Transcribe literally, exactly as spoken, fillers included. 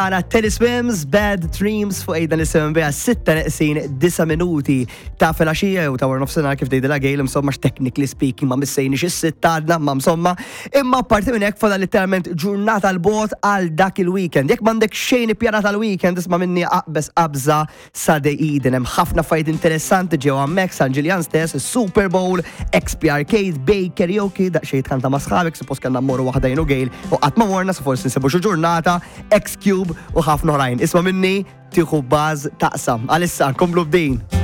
Għana Teddy Swims, Bad Dreams fuq ejda nisimgħu biha sitta neqsin disa' minuti ta' filgħaxija u ta' wara nofsinhar kif tgħidilha Gail, insomma, technically speaking ma missejniex is-sitta għadna, ma insomma. Imma parti minn hekk fadal literalment ġurnata 'l bogħod għal dak il-weekend. Jekk m'għandek xejn ippjanat għal weekend, isma' minni, aqbeż qabża sa The Eden. Hemm ħafna affarijiet interessanti ġew hemmhekk San Ġiljan stess, Super Bowl, X P Arcade, Bay Karaoke, daqsxejn tkanta ma' sħabek, suppost kellna mmorru waħda jien u Gail u qatt ma morna, so forsi nsibu xi ġurnata, X-Cube u ħafna oħrajn. Isma' minni, tieħu baż taqsam. Għalissa, nkomplu b'din.